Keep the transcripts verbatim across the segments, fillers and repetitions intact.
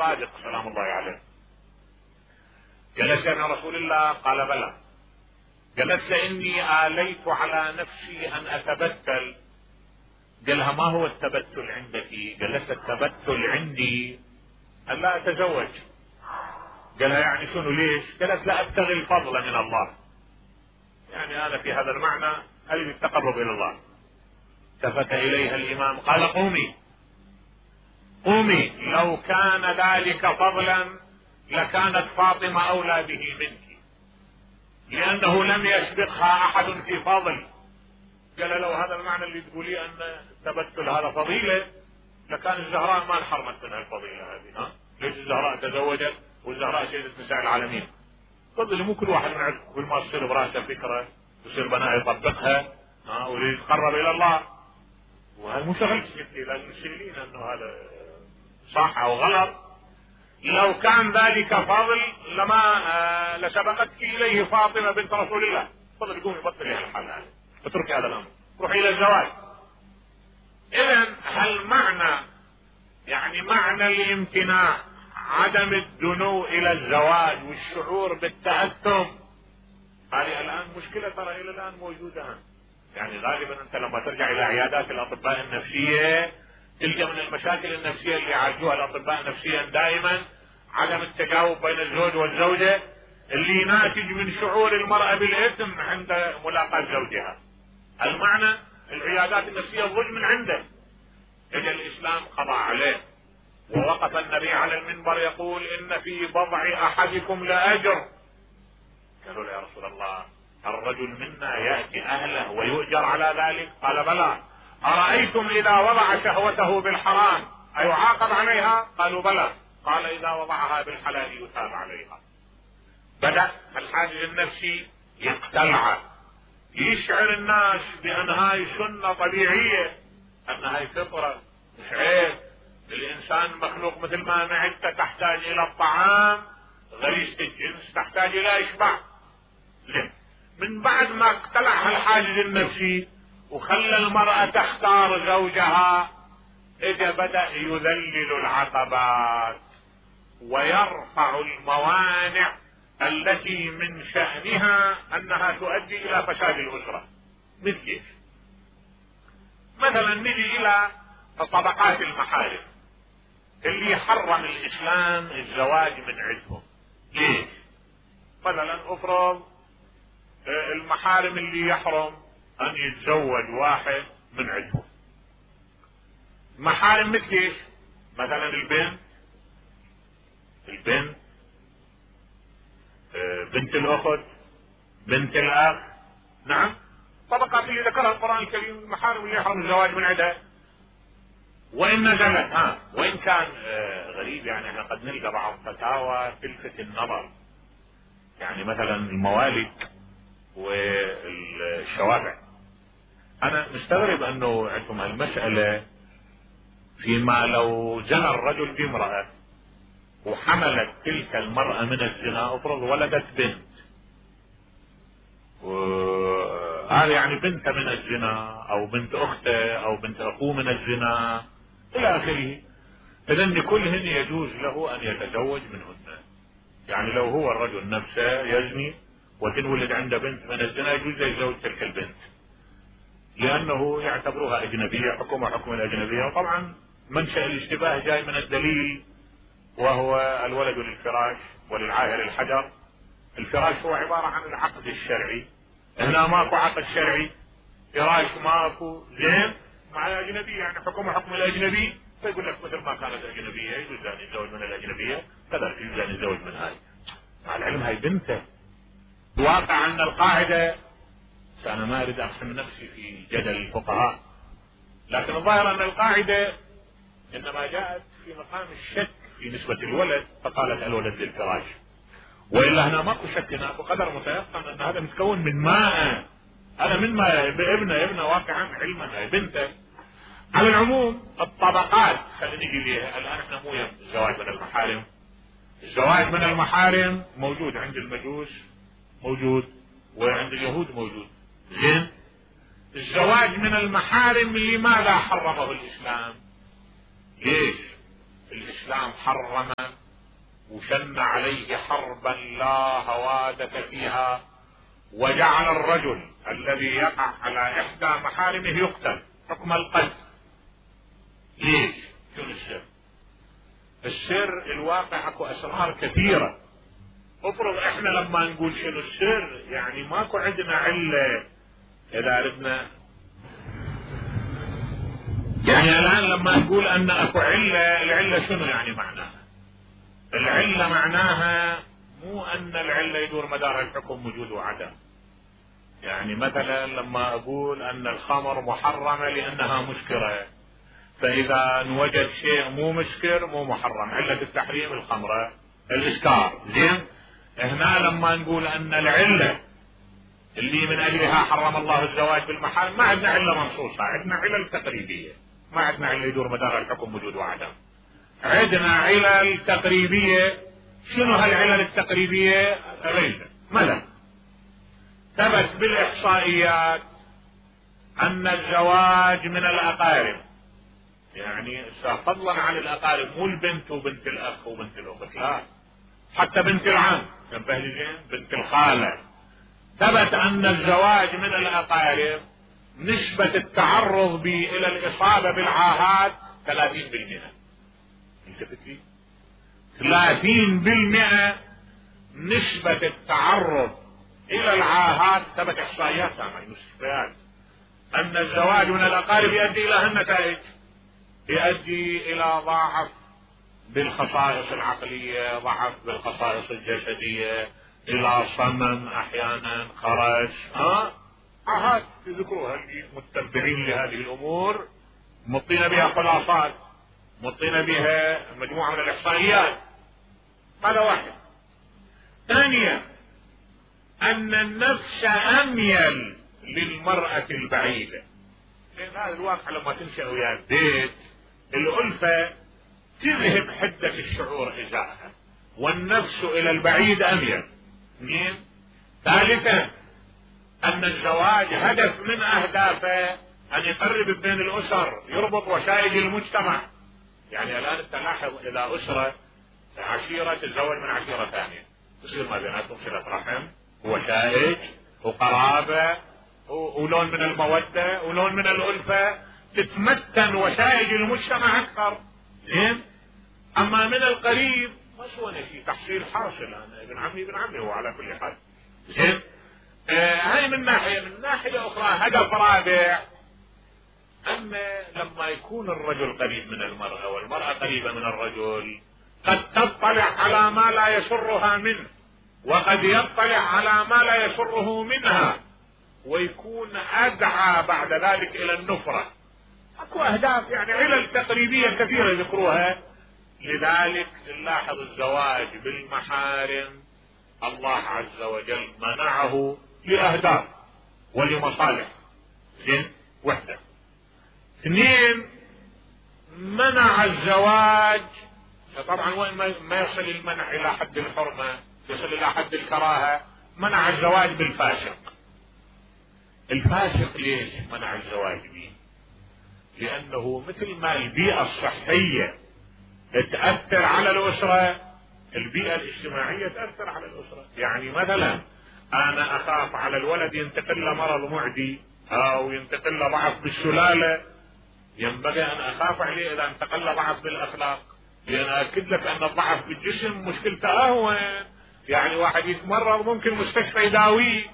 الصادق سلام الله عليه. جلس مع رسول الله؟ قال بلى. جلس اني آليت على نفسي ان اتبتل. قالها ما هو التبتل عندك؟ جلس التبتل عندي ان لا اتزوج. قالها يعني شنو ليش؟ قالت لا ابتغي الفضل من الله، يعني انا في هذا المعنى اريد التقرب الى الله. التفت اليها الامام قال قومي قومي، لو كان ذلك فضلا لكانت فاطمة اولى به منك، لانه لم يسبقها احد في فضل. قال لو هذا المعنى اللي تقولي ان التبتل هذا فضيلة لكان الزهراء ما انحرمت منها الفضيلة هذه. ها ليش الزهراء تزوجت والزهراء سيدة نساء العالمين؟ تفضل، مو كل واحد من عندكم كل ما تصير براسه فكرة ويصير بناء يطبقها ها ويريد يتقرب الى الله، وهذا مو شغلتك انت، لازم تشيلين انه هذا صح او غلط. لو كان ذلك فضل لما آه لسبقتك اليه فاطمة بنت رسول الله. تفضل قومي بطلي هالحال هذا اتركي هذا الامر، روحي الى الزواج. اذا هل معنى يعني معنى الامتناع عدم الدنو الى الزواج والشعور بالتأثم؟ هذه الان مشكلة ترى الى الان موجودة. يعني غالبا انت لما ترجع الى عيادات الاطباء النفسية تلقى من المشاكل النفسية اللي يعالجوها الاطباء نفسيا دائما عدم التجاوب بين الزوج والزوجة اللي ناتج من شعور المرأة بالاثم عند ملاقاة زوجها. المعنى العيادات النفسية الضج من عنده. اجى الاسلام قضى عليه ووقف النبي على المنبر يقول ان في بضع احدكم لاجر. قالوا له يا رسول الله الرجل منا يأتي اهله ويؤجر على ذلك؟ قال بلى. ارايتم اذا وضع شهوته بالحرام ايعاقب عليها؟ قالوا بلى. قال اذا وضعها بالحلال يثاب عليها. بدأ الحاجز النفسي يقتلع، يشعر الناس بان هاي سنة طبيعية، ان هاي فطرة مش عيب. الانسان مخلوق مثل ما معدته تحتاج الى الطعام، غريزة الجنس تحتاج الى اشباع. زين، من بعد ما اقتلع الحاجز النفسي وخلى المرأة تختار زوجها، اجا بدأ يذلل العقبات ويرفع الموانع التي من شأنها انها تؤدي الى فساد الاسرة. مثل كيف؟ مثلا نجي الى طبقات المحارم اللي حرم الاسلام الزواج من عندهم. ليش؟ مثلا افرض المحارم اللي يحرم ان يتزوج واحد من عندهم. محارم مثل ايش؟ مثلا البنت البنت بنت الاخت، بنت الاخ. نعم، طبقات اللي ذكرها القرآن الكريم المحارم اللي يحرم الزواج من عندها. وان نزلت ها وان كان آه غريب، يعني احنا قد نلقى بعض فتاوى تلفت النظر، يعني مثلا الموالد والشوارع. انا مستغرب انه عندكم هالمسألة، فيما لو زنى الرجل بامرأة وحملت تلك المرأة من الزنا، افرض ولدت بنت، وهذا يعني بنت من الزنا او بنت اخته او بنت اخوه من الزنا الى اخره، اذن كلهن يجوز له ان يتزوج منهن. يعني لو هو الرجل نفسه يزني وتنولد عنده بنت من الزنا يجوز يتزوج تلك البنت، لانه يعتبرها اجنبية، حكمها حكم الاجنبية. وطبعا منشأ الاشتباه جاي من الدليل وهو الولد للفراش وللعاهر الحجر. الفراش هو عبارة عن العقد الشرعي، هنا ماكو عقد شرعي، فراش ماكو، زين مع اجنبي يعني حكمها حكم الاجنبي، فيقول لك مثل ما كانت اجنبية يجوز ان يتزوج من الاجنبية كذلك يجوز ان يتزوج من هاي، مع العلم هاي بنته. الواقع ان القاعدة، انا ما اريد اقسم نفسي في جدل الفقهاء، لكن الظاهر ان القاعدة انما جاءت في مقام الشك في نسبة الولد، فقالت الولد للفراش، والا هنا ماكو شك، هنا بقدر متيقن ان هذا متكون من ماء، هذا من ماء ابنه ابنه واقعا علما بنته. على العموم الطبقات خلينا نجي ليها الان، احنا مو يم الزواج من المحارم. الزواج من المحارم موجود عند المجوس، موجود وعند اليهود موجود. زين، الزواج من المحارم لماذا حرمه الاسلام؟ ليش؟ الإسلام حرم وشن عليه حربا لا هوادة فيها، وجعل الرجل الذي يقع على إحدى محارمه يقتل حكم القتل. ليش؟ شنو السر؟ السر الواقع اكو اسرار كثيرة. افرض احنا لما نقول شنو السر يعني ماكو عندنا علة. اذا ردنا يعني الان لما نقول ان اكو علة، العلة شنو يعني معناها؟ العلة معناها مو ان العلة يدور مدار الحكم وجود وعدم. يعني مثلا لما اقول ان الخمر محرمة لانها مسكرة، فاذا نوجد شيء مو مسكر مو محرم، علة التحريم الخمرة الاسكار. زين، هنا لما نقول ان العلة اللي من اجلها حرم الله الزواج بالمحارم ما عندنا علة منصوصة، عندنا علل تقريبية، ما عندنا علة يدور مدار الحكم وجود وعدم، عندنا علل تقريبية. شنو هالعلل التقريبية؟ غير مثلا ثبت بالاحصائيات ان الزواج من الاقارب، يعني فضلا عن الاقارب، مو البنت وبنت الاخ وبنت الاخت، لا، حتى بنت العم، تنبه لي زين، بنت الخالة، ثبت ان الزواج من الاقارب نسبة التعرض به الى الاصابة بالعاهات ثلاثين بالمئة. التفت لي، ثلاثين بالمئة نسبة التعرض الى العاهات، ثبت احصائيات يعني مستشفيات، ان الزواج من الاقارب يؤدي الى هالنتائج، يؤدي الى ضعف بالخصائص العقلية، ضعف بالخصائص الجسدية، الى صمم احيانا، خرس، ها عاهات يذكروها اللي متبعين لهذه الامور، مطينا بها خلاصات، مطينا بها مجموعة من الاحصائيات. هذا واحد. ثانيا ان النفس اميل للمرأة البعيدة، لان هذا الواقع لما تنشأ ويا البيت الألفة تذهب حدة الشعور ازاءها، والنفس الى البعيد اميل. اثنين، ثالثا ان الزواج هدف من اهدافه ان يقرب بين الاسر، يربط وشائج المجتمع. يعني الان انت لاحظ اذا اسرة عشيرة تتزوج من عشيرة ثانية تصير ما بيناتهم صلة رحم وشائج وقرابة ولون من المودة ولون من الألفة، تتمتن وشائج المجتمع اكثر. زين، اما من القريب ما سوى شيء، تحصيل حاصل، انا ابن عمي ابن عمي هو على كل حال. زين، آه هاي من ناحية. من ناحية اخرى هدف رابع، ان لما يكون الرجل قريب من المرأة والمرأة قريبة من الرجل قد تطلع على ما لا يسرها منه، وقد يطلع على ما لا يسره منها، ويكون ادعى بعد ذلك الى النفرة. اكو اهداف يعني علل تقريبية كثيرة يذكروها. لذلك نلاحظ الزواج بالمحارم الله عز وجل منعه لأهداف ولمصالح. زين، وحدة. اثنين، منع الزواج، طبعا وين ما يصل المنع الى حد الحرمة، يصل الى حد الكراهة، منع الزواج بالفاسق. الفاسق ليش منع الزواج به؟ لانه مثل ما البيئة الصحية تأثر على الأسرة، البيئة الاجتماعية تأثر على الأسرة. يعني مثلا أنا أخاف على الولد ينتقل له مرض معدي أو ينتقل له ضعف بالسلالة، ينبغي أن أخاف عليه إذا انتقل له ضعف بالأخلاق، لأن أكد لك أن الضعف بالجسم مشكلته أهون. يعني واحد يتمرض ممكن مستشفى يداويه،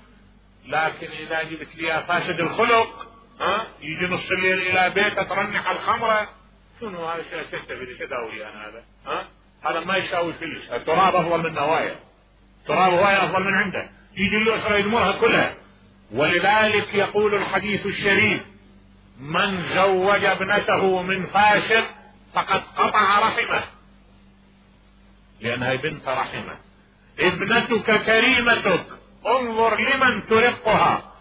لكن إذا جبت لي فاسد الخلق، ها يجي نص الليل إلى بيته ترنح الخمرة، شنو هذا الشيء؟ تنتبه تداوي انا هذا، ها هذا ما يساوي فلس، التراب افضل من نوايا، تراب هواية افضل من عنده، يجي الاسره يدمرها كلها. ولذلك يقول الحديث الشريف: من زوج ابنته من فاسق فقد قطع رحمه، لان هي بنت رحمه. ابنتك كريمتك، انظر لمن ترقها،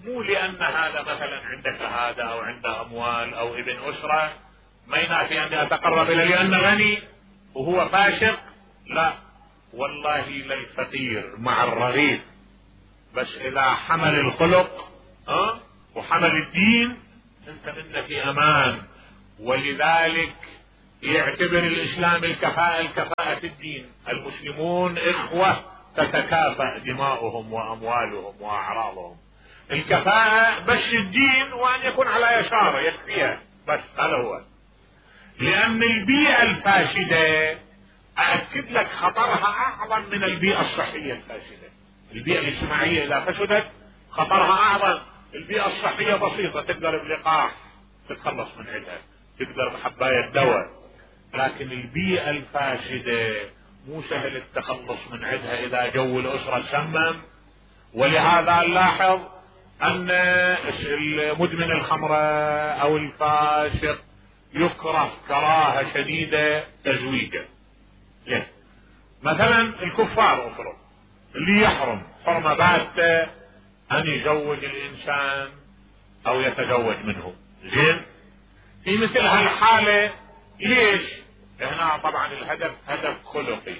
مو لان هذا مثلا عنده شهاده او عنده اموال او ابن اسره ما ينافي اني اتقرب اليه لانه غني وهو فاسق، لا والله للفقير مع الرغيف، بس اذا حمل الخلق ها وحمل الدين انت منه في امان. ولذلك يعتبر الإسلام الكفاءة الكفاءة الدين. المسلمون إخوة تتكافأ دماؤهم وأموالهم وأعراضهم. الكفاءة بس الدين وأن يكون على يساره يكفيها بس، هذا هو. لأن البيئة الفاسدة أأكد لك خطرها أعظم من البيئة الصحية الفاسدة. البيئة الاجتماعية إذا فسدت خطرها أعظم. البيئة الصحية بسيطة، تقدر بلقاح تتخلص من عندها، تقدر بحباية دواء. لكن البيئة الفاسدة مو سهل التخلص من عندها إذا جو الأسرة سمم. ولهذا نلاحظ أن مدمن الخمرة أو الفاسق يكره كراهة شديدة تزويجه. ليه؟ مثلا الكفار أفرض اللي يحرم حرمة باتة أن يزوج الإنسان أو يتزوج منه. زين، في مثل هالحالة ليش؟ هنا طبعا الهدف هدف خلقي،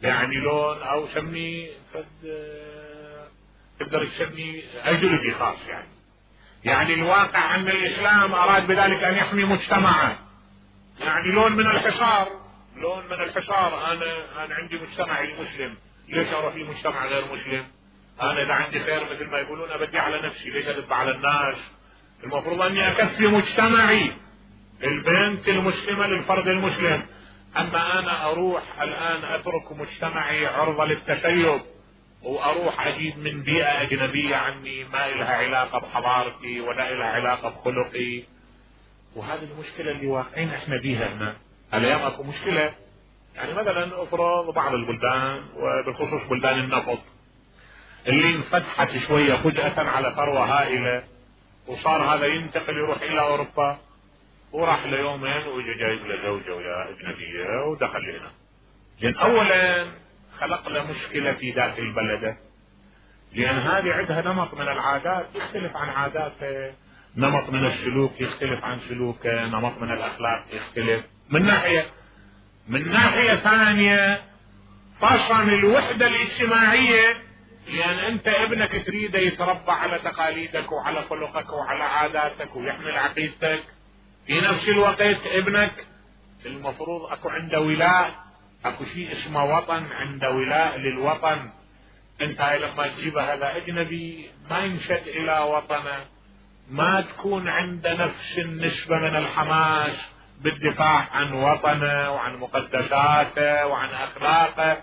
يعني لون أو سمي فد تقدر تسمي أيديولوجي خاص. يعني يعني الواقع أن الإسلام أراد بذلك أن يحمي مجتمعه. يعني لون من الحصار، لون من الحصار. أنا أنا عندي مجتمعي المسلم، ليش أروح لمجتمع غير مسلم؟ أنا إذا عندي خير مثل ما يقولون أبدي على نفسي، ليش أدب على الناس؟ المفروض أني أكفي مجتمعي، البنت المسلمة للفرد المسلم. أما أنا أروح الآن أترك مجتمعي عرضة للتسيب وأروح أجيب من بيئة أجنبية عني ما إلها علاقة بحضارتي ولا إلها علاقة بخلقي. وهذه المشكلة اللي واقعين إحنا بيها هنا. اليوم أكو مشكلة، يعني مثلا أفرض بعض البلدان وبالخصوص بلدان النفط اللي انفتحت شوية فجأة على ثروة هائلة، وصار هذا ينتقل يروح إلى أوروبا، وراح ليومين ويجي جايب له زوجة ويا أجنبية ودخل هنا. لأن أولا خلق له مشكلة في ذات البلدة، لأن هذه عندها نمط من العادات يختلف عن عاداته، نمط من السلوك يختلف عن سلوكه، نمط من الأخلاق يختلف من ناحية. من ناحية ثانية فصل الوحدة الاجتماعية، لأن أنت ابنك تريده يتربى على تقاليدك وعلى خلقك وعلى عاداتك ويحمل عقيدتك. في نفس الوقت ابنك المفروض أكو عنده ولاء، أكو شيء اسمه وطن، عنده ولاء للوطن. أنت لما تجيب هذا أجنبي ما ينشد إلى وطنه، ما تكون عنده نفس النسبة من الحماس بالدفاع عن وطنه وعن مقدساته وعن أخلاقه،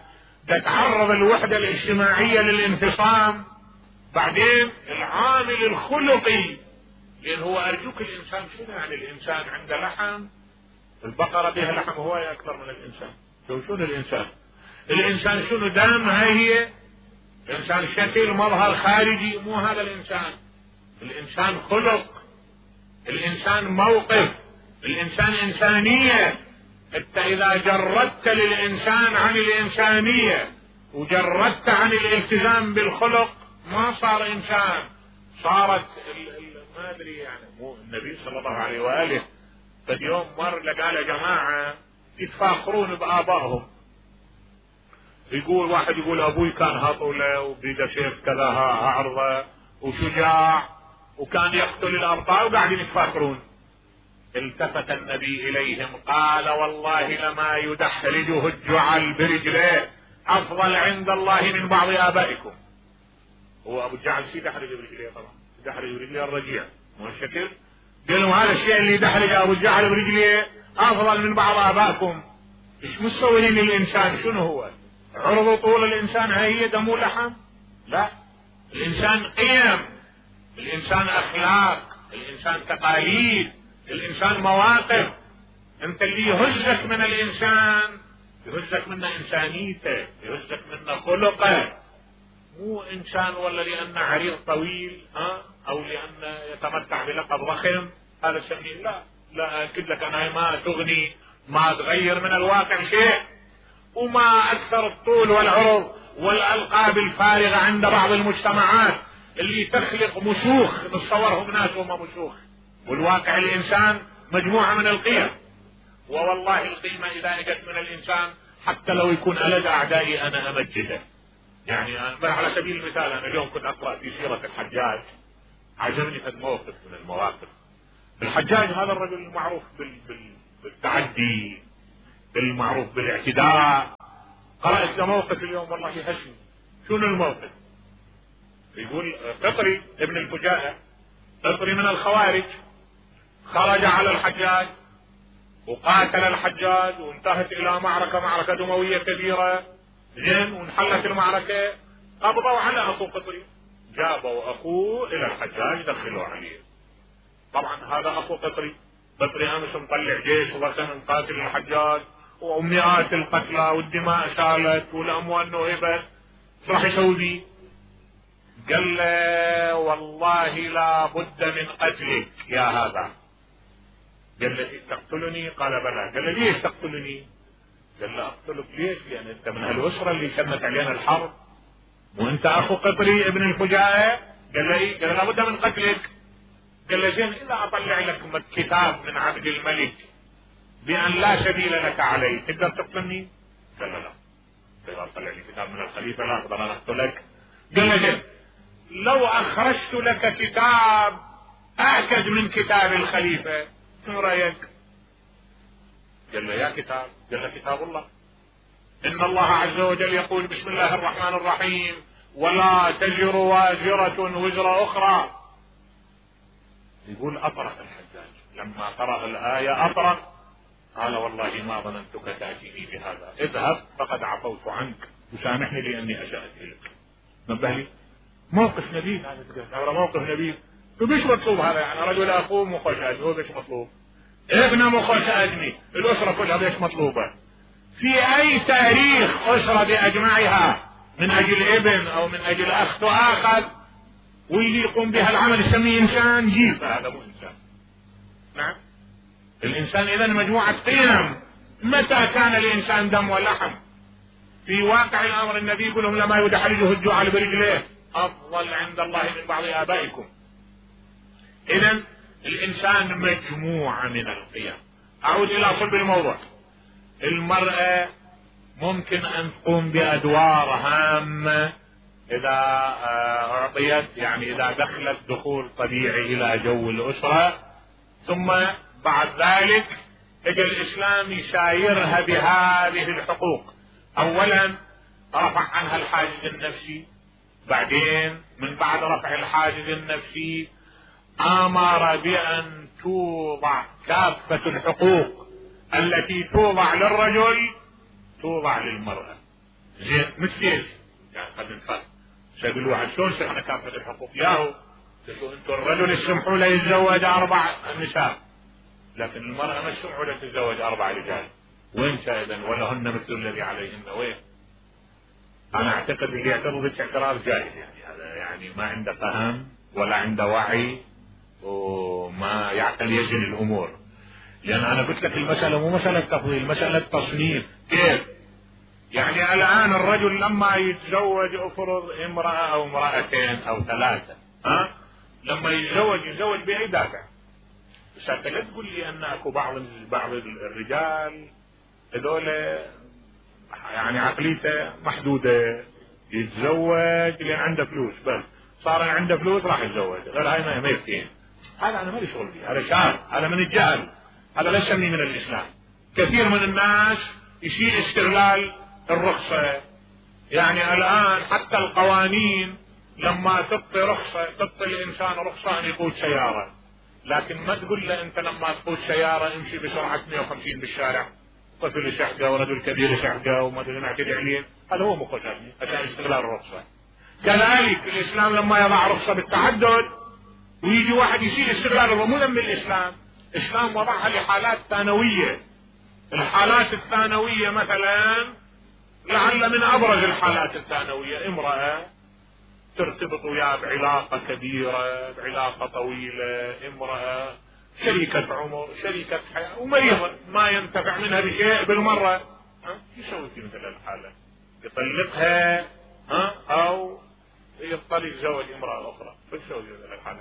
تتعرض الوحدة الاجتماعية للانفصام. بعدين العامل الخلقي، لأن هو أرجوك الإنسان شنو يعني؟ الإنسان عنده لحم، البقرة بها لحم هواية أكثر من الإنسان. شو شنو الإنسان؟ الإنسان شنو؟ دم، هاي هي الإنسان شكل مظهر خارجي، مو هذا الإنسان. الإنسان خلق، الإنسان موقف، الإنسان إنسانية. انت إذا جردت للإنسان عن الإنسانية وجردت عن الالتزام بالخلق ما صار إنسان، صارت ال ال ما أدري يعني. مو النبي صلى الله عليه وآله قد يوم مر لقى له جماعة يتفاخرون بآبائهم، يقول واحد يقول أبوي كان هطولة وبيده سيف كذا عرضة وشجاع وكان يقتل الأبطال وقاعدين يتفاخرون. التفت النبي إليهم قال والله لما يدحرجه الجعل برجليه أفضل عند الله من بعض آبائكم. هو أبو الجعل شي دحرج برجليه؟ طبعا دحرج برجليه الرجيع، مو الشكل. قال لهم هذا الشيء اللي دحرج أبو الجعل برجليه أفضل من بعض آبائكم. إيش مستوين الإنسان؟ شنو هو؟ عرض طول الإنسان هي دم ولحم؟ لا، الإنسان قيم، الإنسان أخلاق، الإنسان تقاليد، الإنسان مواقف. أنت اللي يهزك من الإنسان يهزك منه إنسانيته، يهزك منه خلقه، مو إنسان ولا لأنه عريض طويل ها أو لأنه يتمتع بلقب ضخم هذا سميه. لا لا، أكد لك أنا ما تغني، ما تغير من الواقع شيء. وما أكثر الطول والعرض والألقاب الفارغة عند بعض المجتمعات اللي تخلق مشوخ نتصورهم ناس وما مشوخ، والواقع الإنسان مجموعة من القيم. ووالله القيمة إذا اجت من الإنسان حتى لو يكون ألد أعدائي أنا أمجده. يعني على سبيل المثال أنا اليوم كنت أقرأ في سيرة الحجاج، عجبني هذا الموقف من المواقف. الحجاج هذا الرجل المعروف بالتعدي المعروف بالاعتداء. قرأت له موقف اليوم والله يهزني. شنو الموقف؟ يقول قطري ابن الفجاءة، قطري من الخوارج، خرج على الحجاج وقاتل الحجاج وانتهت الى معركة معركة دموية كبيرة، زين، وانحلت المعركة، قبضوا على اخو قطري، جابوا اخوه الى الحجاج دخلوا عليه. طبعا هذا اخو قطري، قطري امس مطلع جيش وغسل قاتل الحجاج ومئات القتلى والدماء سالت والاموال نهبت، ايش راح يسوي بيه؟ قال له والله لا بد من قتلك يا هذا. قال له تقتلني؟ قال بلى. قال له ليش تقتلني؟ قال له اقتلك ليش؟ لان انت من هالاسره اللي شنت علينا الحرب وانت اخو قطري ابن الفجاءة. قال له ايه؟ قال له لابد من قتلك. قال له زين، اذا اطلع لك كتاب من عبد الملك بان لا سبيل لك عليه تقدر تقتلني؟ قال له لا. اذا اطلع لي كتاب من الخليفه لا اقدر ان اقتلك. قال له زين، لو اخرجت لك كتاب اعكد من كتاب الخليفه شو رايك؟ قال له يا كتاب. قال له كتاب الله، ان الله عز وجل يقول بسم الله الرحمن الرحيم ولا تزر وازرة وزر اخرى. يقول اطرق الحجاج لما قرأ الآية، اطرق، قال والله ما ظننتك تأتيني بهذا، اذهب فقد عفوت عنك وسامحني لاني اسأت اليك. نبه لي موقف نبيل هذا، موقف نبيل. فبيش مطلوب هذا؟ يعني رجل اخوه مو خوش ادمي، هو بيش مطلوب؟ ابنه مو خوش ادمي، الاسره كلها بيش مطلوبه؟ في اي تاريخ اسره باجمعها من اجل ابن او من اجل اخ تؤاخذ واللي يقوم بها العمل يسميه انسان؟ جيب، هذا مو انسان. نعم، الانسان اذا مجموعه قيم. متى كان الانسان دم ولحم؟ في واقع الامر النبي يقول لهم لما يدحرجه الجوع برجليه افضل عند الله من بعض ابائكم. اذا الانسان مجموعة من القيم. اعود الى صلب الموضوع. المرأة ممكن ان تقوم بادوار هامة اذا اعطيت، يعني اذا دخلت دخول طبيعي الى جو الاسرة، ثم بعد ذلك اجى الاسلام يسايرها بهذه الحقوق. اولا رفع عنها الحاجز النفسي، بعدين من بعد رفع الحاجز النفسي امر بان توضع كافة الحقوق التي توضع للرجل توضع للمرأة. زين، مثل ايش؟ يعني قد نفهم سيقول الواحد شلون سمعنا كافة الحقوق؟ ياهو انتم الرجل يسمحوا له يتزوج اربع نساء، لكن المرأة ما يسمحوا له تتزوج اربع رجال. وين اذا؟ ولهن مثل الذي عليهن. وين؟ انا اعتقد اللي يعترض بالاعتراض جاهل، يعني هذا يعني ما عنده فهم ولا عنده وعي وما يعقل يزن الامور. لان انا قلت لك المسألة مو مسألة تفضيل، مسألة تصنيف. كيف؟ يعني الان الرجل لما يتزوج افرض امرأة او امرأتين او ثلاثة، ها؟ لما يتزوج يتزوج باي دافع؟ بس انت لا تقول لي ان اكو بعض بعض الرجال هذول يعني عقليته محدودة، يتزوج لان عنده فلوس، بس صار عنده فلوس راح يتزوج، غير هاي ما يفتين. هذا انا مالي شغل فيه، هذا شاذ، هذا من الجهل، هذا لا يسميه من الاسلام. كثير من الناس يشيل استغلال الرخصة. يعني الان حتى القوانين لما تعطي رخصة، تعطي الانسان رخصة ان يقود سيارة، لكن ما تقول له انت لما تقود سيارة امشي بسرعة مئة وخمسين بالشارع، طفل يشحقه ورجل كبير يشحقه وما ادري نعتدي عليه. هذا هو مخ عشان استغلال الرخصة. كذلك الاسلام لما يضع رخصة بالتعدد ويجي واحد يشيل استغلال الرخصة، مو ذنب الاسلام، الاسلام وضعها لحالات ثانوية. الحالات الثانوية مثلا لعل من ابرز الحالات الثانوية امرأة ترتبط وياه بعلاقة كبيرة، بعلاقة طويلة، امرأة شريكة عمر، شريكة حياة، ومريضة ما ينتفع منها بشيء بالمرة، ها؟ يسوي في مثل الحالة؟ يطلقها، ها؟ او يضطر يتزوج امرأة اخرى. شو يسوي في مثل الحالة؟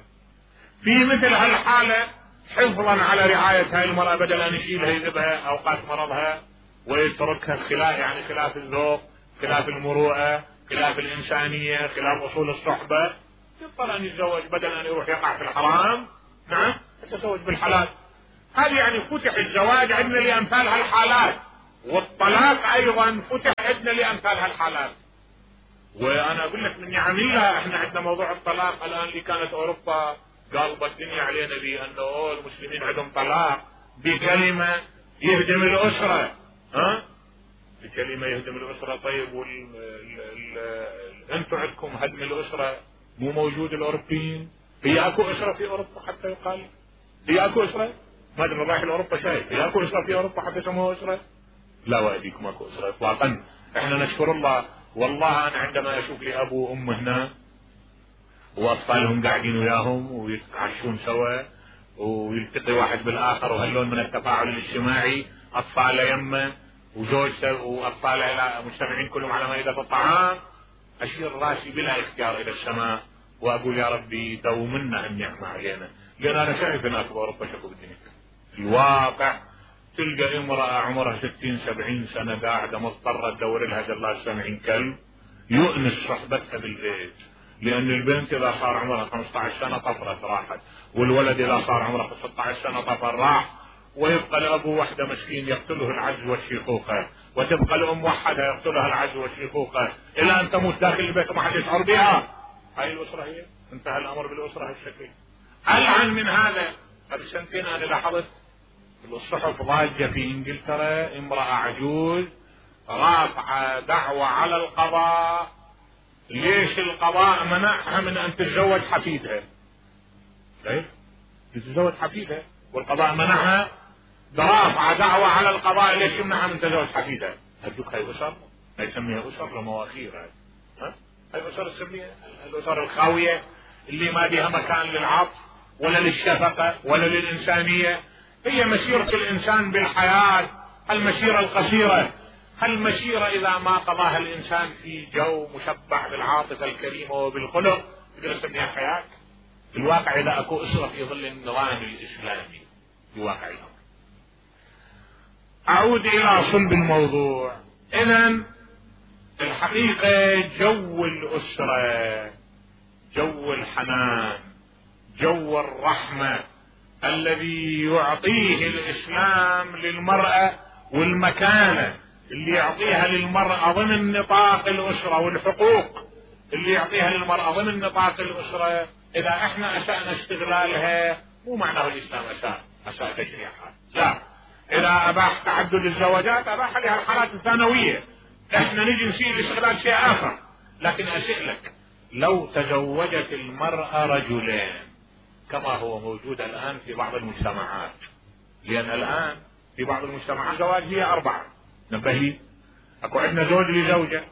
في مثل هالحالة حفظا على رعاية هاي المرأة بدل ان يشيلها يذبها اوقات مرضها ويتركها خلاف، يعني خلاف الذوق، خلاف المروءة، خلاف الانسانية، خلاف اصول الصحبة، يضطر ان يتزوج بدل ان يروح يقع في الحرام، نعم، يتزوج بالحلال. هذه يعني فتح الزواج عندنا لامثال هالحالات. والطلاق ايضا فتح عندنا لامثال هالحالات. وانا اقول لك من نعم الله احنا عندنا موضوع الطلاق الان، اللي كانت اوروبا قالبت الدنيا علينا بانه المسلمين عندهم طلاق بكلمه يهدم الاسره. ها بكلمه يهدم الاسره. طيب وال انتم عندكم هدم الاسره مو موجود؟ الاوروبيين هي اكو اسره في اوروبا حتى يقال هي اكو اسره؟ ما ادري رايح لاوروبا شايف هي اكو اسره في اوروبا حتى يسموها اسره؟ لا واديكم اكو اسره اطلاقا. احنا نشكر الله. والله انا عندما اشوف لي ابو وام هنا واطفالهم قاعدين وياهم ويتعشون سوا ويلتقي واحد بالاخر وهاللون من التفاعل الاجتماعي، اطفاله يمه وزوجته واطفاله مجتمعين كلهم على مائده الطعام، اشير راسي بلا اختيار الى السماء واقول يا ربي دومنا النعمه علينا. لان انا شايف هناك باوروبا شكو بالدنيا الواقع تلقى امراه عمرها ستين سبعين سنه قاعده مضطره تدور لها جلال سامعين كلب يؤنس صحبتها بالبيت، لان البنت اذا صار عمرها خمسة عشر سنه طفرت راحت، والولد اذا صار عمره ستة عشر سنه طفر راح، ويبقى الابو وحده مسكين يقتله العجز والشيخوخه، وتبقى الام وحدها يقتلها العجز والشيخوخه الى ان تموت داخل البيت وما حد يشعر بها. هاي الاسره هي؟ انتهى الامر بالاسره هالشكل. العن من هذا. قبل سنتين انا لاحظت الصحف ضاجه في انجلترا امراه عجوز رافعه دعوه على القضاء ليش القضاء منعها من ان تتزوج حفيدها. كيف؟ تتزوج حفيدها والقضاء منعها؟ رافعه دعوه على القضاء ليش يمنعها من تزوج حفيدها؟ هدوك هاي اسر؟ هاي تسميها اسر لمواخير هاي. ها؟ هاي اسر تسميها الاسر الخاويه اللي ما بها مكان للعطف ولا للشفقه ولا للانسانيه. هي مسيره الانسان بالحياه المسيره القصيره، المسيره اذا ما قضاها الانسان في جو مشبع بالعاطفه الكريمه وبالخلق تقدر تسميها حياه. الواقع اذا اكو اسره في ظل النظام الاسلامي بواقع الامر. اعود الى صلب الموضوع. اذا الحقيقه جو الاسره، جو الحنان، جو الرحمه الذي يعطيه الاسلام للمراه والمكانه اللي يعطيها للمراه ضمن نطاق الاسره والحقوق اللي يعطيها للمراه ضمن نطاق الاسره، اذا احنا اسأنا استغلالها مو معناه الاسلام اساء اساء تشريعها، لا. اذا اباح تعدد الزواجات اباح لها الحالات الثانويه، احنا نجي نسيء لاستغلال شيء اخر. لكن اسئلك لو تزوجت المراه رجلين كما هو موجود الان في بعض المجتمعات، لان الان في بعض المجتمعات الزواج هي اربعه، نبه لي اكو عندنا زوج لزوجه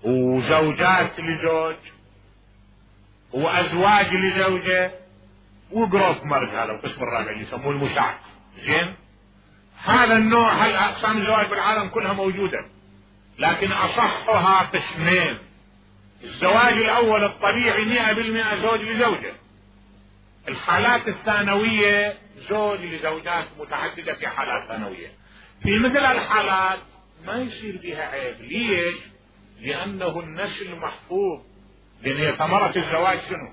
وزوجات لزوج وازواج لزوجه وجروب مارج، هذا القسم الرابع اللي يسموه المشاع. زين، هذا النوع هالاقسام الزواج بالعالم كلها موجوده، لكن اصحها قسمين. الزواج الاول الطبيعي مئة بالمئة زوج لزوجه. الحالات الثانويه زوج لزوجات متعدده في حالات ثانويه. في مثل الحالات ما يصير بها عيب. ليش؟ لانه النسل محفوظ. لان هي ثمرة الزواج شنو؟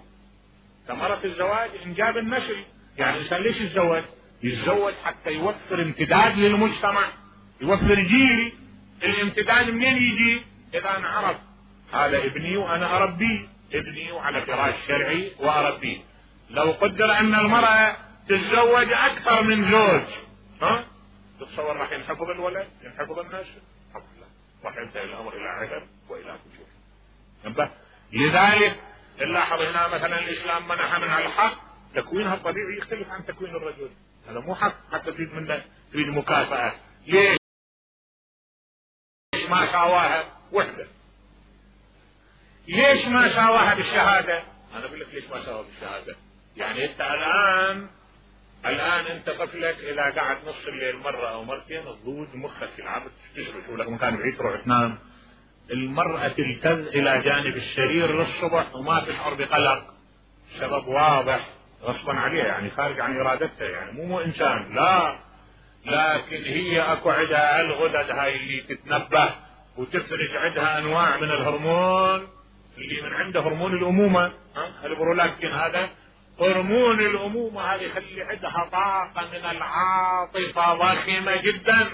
ثمرة الزواج انجاب النسل. يعني الانسان ليش يتزوج؟ يتزوج حتى يوفر امتداد للمجتمع، يوفر جيل. الامتداد منين يجي؟ اذا انا عرف هذا ابني وانا اربيه، ابني وعلى فراش شرعي واربيه. لو قدر ان المرأة تتزوج اكثر من زوج، ها؟ تتصور راح ينحفظ الولد؟ ينحفظ النسل؟ الحمد لله، راح ينتهي الامر الى عهر والى فجور. انتبه. لذلك نلاحظ هنا مثلا الاسلام منح منها الحق، تكوينها الطبيعي يختلف عن تكوين الرجل. هذا مو حق حتى تريد منه تريد مكافأة. ليش ما ساواها وحده؟ ليش ما ساواها بالشهادة؟ انا اقول لك ليش ما ساواها بالشهادة. يعني انت الان الان انت طفلك اذا قعد نص الليل مرة او مرتين تضوج مخك يلعب تشرب لك مكان بعيد تروح تنام. المرأة تلتذ الى جانب السرير للصبح وما تشعر بقلق. سبب واضح غصبا عليها، يعني خارج عن ارادتها، يعني مو مو انسان، لا، لكن هي اكو عندها الغدد هاي اللي تتنبه وتفرز عندها انواع من الهرمون اللي من عنده هرمون الامومه، ها البرولاكتين. هذا هرمون الامومه، هذا يخلي عندها طاقه من العاطفه ضخمه جدا.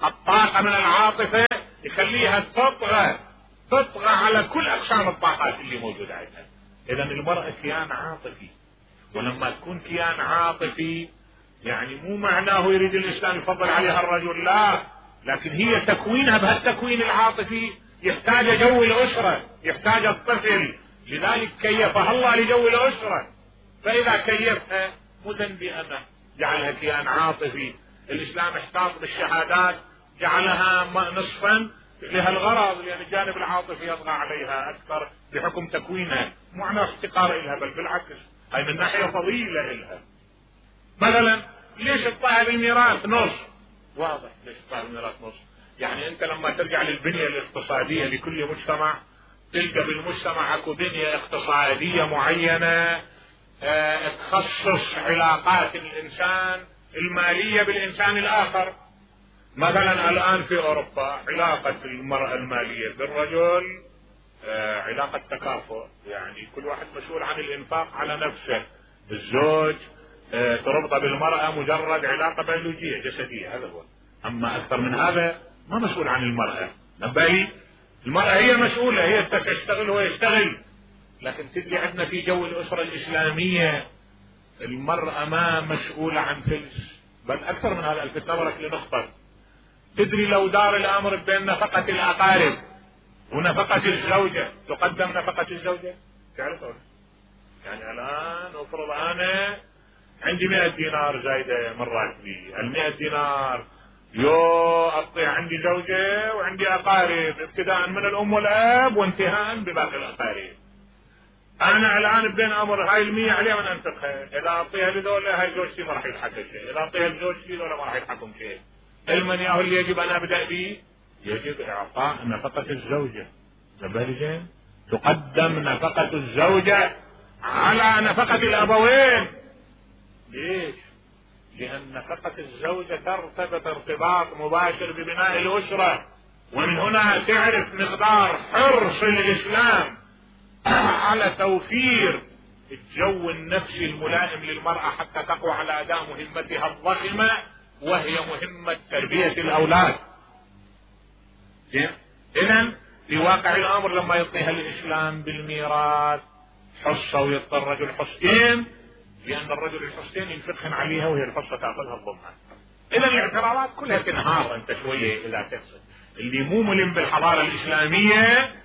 الطاقة من العاطفة يخليها تطغى تطغى على كل اقسام الطاقات اللي موجودة عندها. اذا المرأة كيان عاطفي، ولما تكون كيان عاطفي يعني مو معناه يريد الاسلام يفضل عليها الرجل، لا، لكن هي تكوينها بهالتكوين العاطفي يحتاج جو الاسرة، يحتاج الطفل، لذلك كيفها الله لجو الاسرة. فاذا كيفها مو ذنبي انا جعلها كيان عاطفي. الاسلام احتاط بالشهادات جعلها نصفا لهالغرض، لان الجانب العاطفي يطغى عليها اكثر بحكم تكوينها، مو معنى احتقار لها، بل بالعكس هاي من ناحية فضيلة لها. مثلا ليش تطلع بالميراث نص؟ واضح ليش تطلع بالميراث نص، يعني انت لما ترجع للبنية الاقتصادية لكل مجتمع تلقى بالمجتمع اكو بنية اقتصادية معينة اه تخصص علاقات الانسان المالية بالانسان الاخر. مثلا الان في اوروبا علاقة المرأة المالية بالرجل اه علاقة تكافؤ، يعني كل واحد مسؤول عن الانفاق على نفسه. الزوج اه تربط بالمرأة مجرد علاقة بيولوجية جسدية، هذا هو. اما اكثر من هذا ما مسؤول عن المرأة، نبالي المرأة هي مسؤولة، هي تشتغل وهو يشتغل. لكن تدري عندنا في جو الاسرة الاسلامية المرأة ما مسؤولة عن فلس، بل اكثر من هذا. الفت نظرك لنقطة، تدري لو دار الامر بين نفقة الاقارب ونفقة الزوجة تقدم نفقة الزوجة؟ تعرف يعني الان افرض انا عندي مئة دينار زايدة من راتبي، المئة دينار يو اطيع عندي زوجة وعندي اقارب ابتداء من الام والاب وانتهاء بباقي الاقارب. انا الان بين امر هاي المية عليها من انفقها، اذا اعطيها لذولا هاي زوجتي ما راح يلحق شيء، اذا اعطيها لزوجتي ذولا ما راح يلحقهم شيء. المن ياهو اللي يجب ان ابدا به يجب اعطاء نفقة الزوجة. زين تقدم نفقة الزوجة على نفقة الابوين. ليش؟ لان نفقة الزوجة ترتبط ارتباط مباشر ببناء الاسرة، ومن هنا تعرف مقدار حرص الاسلام على توفير الجو النفسي الملائم للمرأة حتى تقوى على اداء مهمتها الضخمة وهي مهمة تربية الاولاد. اذا في واقع الامر لما يعطيها الاسلام بالميراث حصة ويعطي الرجل حصتين، لان الرجل الحصتين ينفقهن عليها وهي الحصة تاخذها الضمها. اذا الاعتراضات كلها تنهار انت شوية اذا تقصد. اللي مو ملم بالحضارة الاسلامية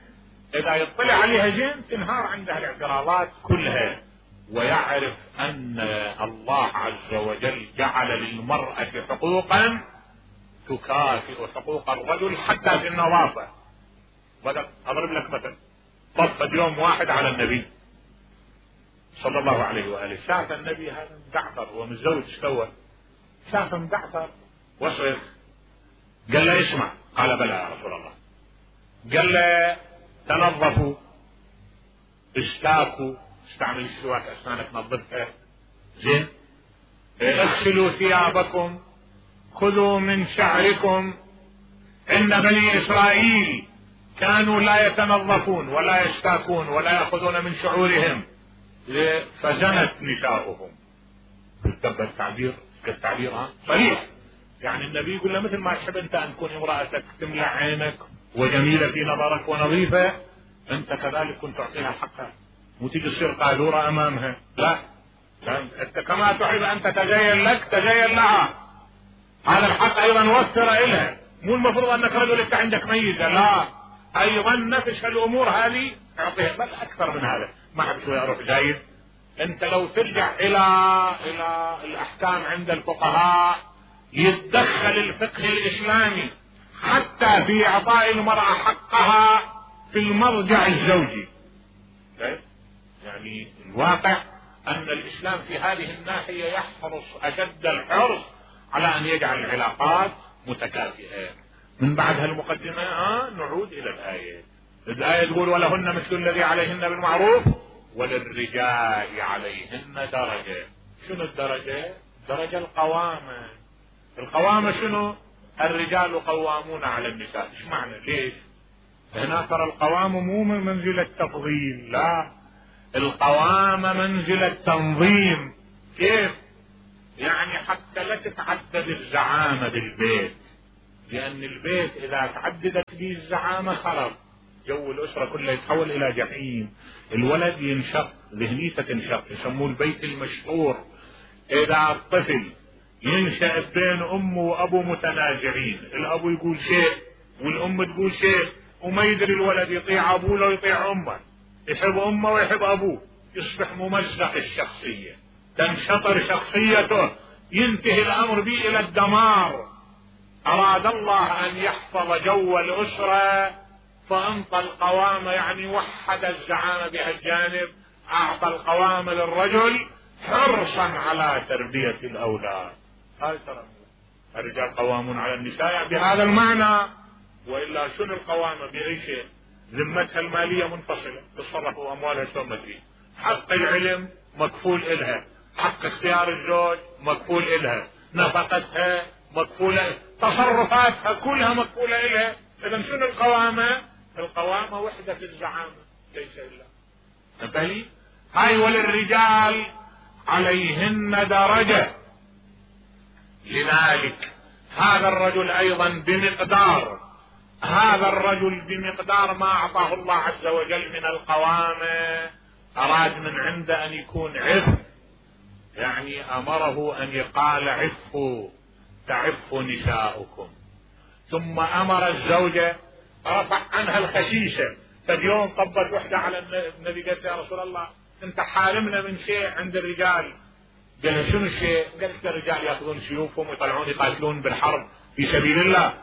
اذا يطلع عليها زين تنهار عندها الاعتراضات كلها، ويعرف ان الله عز وجل جعل للمرأة حقوقا تكافئ حقوق الرجل حتى في النظافة. بدأ اضرب لك مثل، طفت يوم واحد على النبي صلى الله عليه واله، شاف النبي هذا مدعفر ومتزوج سوى، شاف مدعفر وصرخ، قال له اسمع، قال بلى يا رسول الله، قال له تنظفوا استاكوا، استعمل السواك اسنانك نظفها زين، اغسلوا ثيابكم، خذوا من شعركم، ان بني اسرائيل كانوا لا يتنظفون ولا يستاكون ولا ياخذون من شعورهم فزنت نساؤهم. تبقى التعبير كالتعبير ها صريح، يعني النبي يقول له مثل ما تحب انت ان تكون امرأتك تملأ عينك وجميلة في نظرك ونظيفة، انت كذلك كنت تعطيها حقها، مو تيجي تصير قالورة امامها، لا، لا انت كما تحب ان تتزين لك تزين لها، هذا الحق ايضا وفر الها. مو المفروض انك رجل انت عندك ميزة، لا، ايضا نفس الامور هذه اعطيها، بل اكثر من هذا. ما احب شوي اروح زايد، انت لو ترجع الى الى الاحكام عند الفقهاء يتدخل الفقه الاسلامي حتى في اعطاء المرأة حقها في المرجع الزوجي. يعني الواقع ان الاسلام في هذه الناحية يحرص اشد الحرص على ان يجعل العلاقات متكافئة. من بعد هالمقدمة آه نعود الى الاية. الاية تقول ولهن مثل الذي عليهن بالمعروف وللرجال عليهن درجة. شنو الدرجة؟ درجة القوامة. القوامة شنو؟ الرجال قوامون على النساء. ايش معنى؟ ليش؟ هنا ترى القوامة مو من منزلة تفضيل، لا، القوامة منزلة تنظيم. كيف؟ يعني حتى لا تتعدد الزعامة بالبيت، لأن البيت إذا تعددت به الزعامة خرب، جو الأسرة كله يتحول إلى جحيم، الولد ينشق، ذهنيته تنشق، يسموه البيت المشهور. إذا الطفل ينشأ بين أمه وأبوه متنازعين، الأبو يقول شيء والأم تقول شيء، وما يدري الولد يطيع أبوه لو يطيع أمه، يحب أمه ويحب أبوه، يصبح ممزق الشخصية، تنشطر شخصيته، ينتهي الأمر به إلى الدمار. أراد الله أن يحفظ جو الأسرة فأنطى القوامة، يعني وحد الزعامة بهالجانب، أعطى القوامة للرجل حرصا على تربية الأولاد. هاي ترى الرجال قوامون على النساء بهذا المعنى، وإلا شنو القوامة بأي شيء؟ ذمتها المالية منفصلة، تصرفوا أموالها شو ما تريد، حق العلم مكفول إلها، حق اختيار الزوج مكفول إلها، نفقتها مكفولة، تصرفاتها كلها مكفولة إلها. إذا شنو القوامة؟ القوامة وحدة الزعامة ليس إلا انتهي. هاي وللرجال عليهن درجة، لذلك هذا الرجل أيضا بمقدار هذا الرجل بمقدار ما أعطاه الله عز وجل من القوامة، أراد من عنده أن يكون عف، يعني أمره أن يقال عفوا تعف نساؤكم. ثم أمر الزوجة رفع عنها الخشيشة. فاليوم طبت وحدة على النبي قالت يا رسول الله انت حارمنا من شيء عند الرجال. قال شنو الشيء؟ قالت الرجال ياخذون سيوفهم ويطلعون يقاتلون بالحرب في سبيل الله.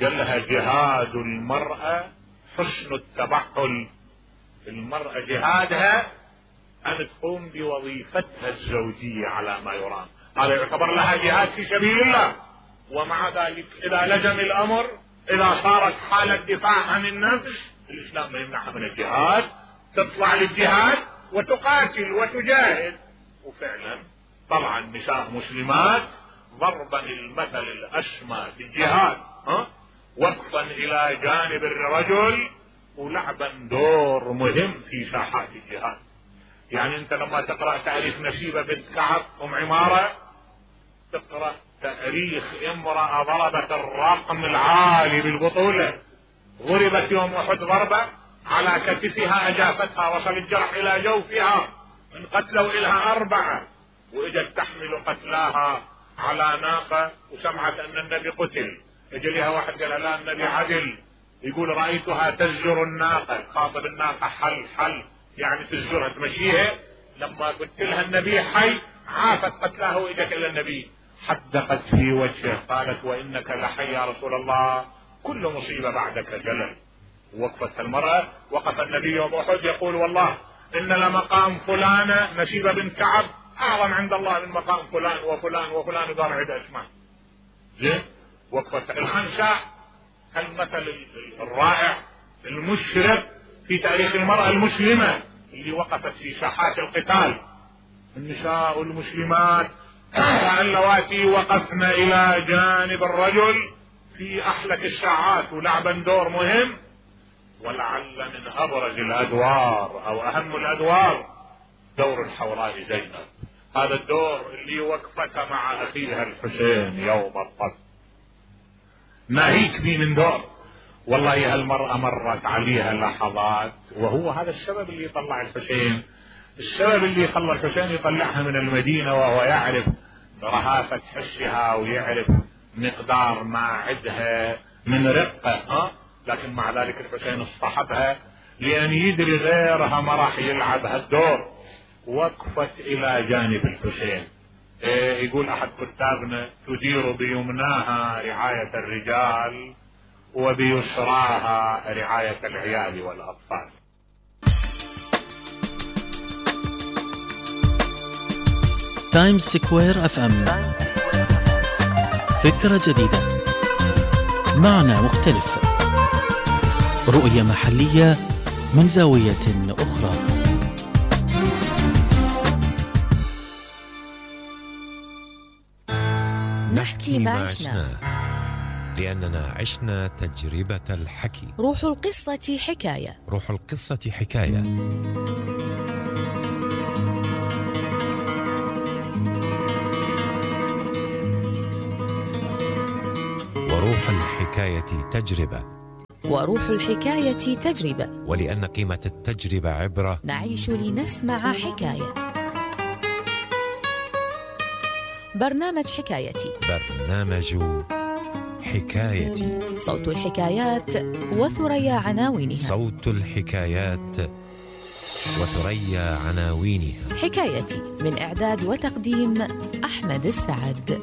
قال لها جهاد المرأة حسن التبحل، المرأة جهادها أن تقوم بوظيفتها الزوجية على ما يرام، هذا يعتبر لها جهاد في سبيل الله. ومع ذلك إذا لزم الأمر، إذا صارت حالة دفاع عن النفس، الإسلام ما يمنعها من الجهاد، تطلع للجهاد وتقاتل وتجاهد. وفعلا طبعا نساء مسلمات ضربا المثل الأسمى في الجهاد، ها وقفا إلى جانب الرجل ولعبا دور مهم في ساحات الجهاد. يعني انت لما تقرأ تاريخ نسيبة بنت كعب ام عمارة، تقرأ تاريخ امرأة ضربت الرقم العالي بالبطولة، ضربت يوم احد ضربة على كتفها اجافتها، وصل الجرح الى جوفها، انقتلوا الها اربعة، واجت تحمل قتلاها على ناقة وسمعت ان النبي قتل، اجى لها واحد قال لا النبي عدل، يقول رأيتها تزجر الناقة، خاطب الناقة حل حل يعني تزجرها تمشيها، لما قلت لها النبي حي عافت قتلاه واجت الى النبي حدقت في وجهه قالت وانك لحي يا رسول الله، كل مصيبة بعدك جلل. وقفت المرأة، وقف النبي يوم احد يقول والله ان لمقام فلانة نسيبة بنت كعب اعظم عند الله من مقام فلان وفلان وفلان، وضع عدة اسماء. زين وقفت الخنساء، المثل الرائع المشرق في تاريخ المرأة المسلمة اللي وقفت في ساحات القتال. النساء المسلمات اللواتي وقفن الى جانب الرجل في احلك الساعات ولعبا دور مهم. ولعل من ابرز الادوار او اهم الادوار دور الحوراء زينب، هذا الدور اللي وقفت مع اخيها الحسين يوم الطف. ناهيك بي من دور، والله هالمرأة مرت عليها لحظات، وهو هذا السبب اللي يطلع الحسين، السبب اللي خلى الحسين يطلعها من المدينة، وهو يعرف رهافة حسها ويعرف مقدار ما عندها من رقة، ها؟ لكن مع ذلك الحسين اصطحبها لأن يدري غيرها ما راح يلعب هالدور. وقفت إلى جانب الحسين. إيه يقول أحد كتابنا تدير بيمناها رعاية الرجال وبيسراها رعاية العيال والأطفال. تايمز سكوير اف ام، فكرة جديدة، معنى مختلف، رؤية محلية من زاوية أخرى. نحكي ما عشنا لأننا عشنا تجربة الحكي. روح القصة حكاية. روح القصة حكاية. وروح الحكي الحكاية تجربة، وروح الحكاية تجربة، ولأن قيمة التجربة عبرة نعيش لنسمع حكاية. برنامج حكايتي، برنامج حكايتي، صوت الحكايات وثريا عناوينها، صوت الحكايات وثريا عناوينها. حكايتي من إعداد وتقديم أحمد السعد.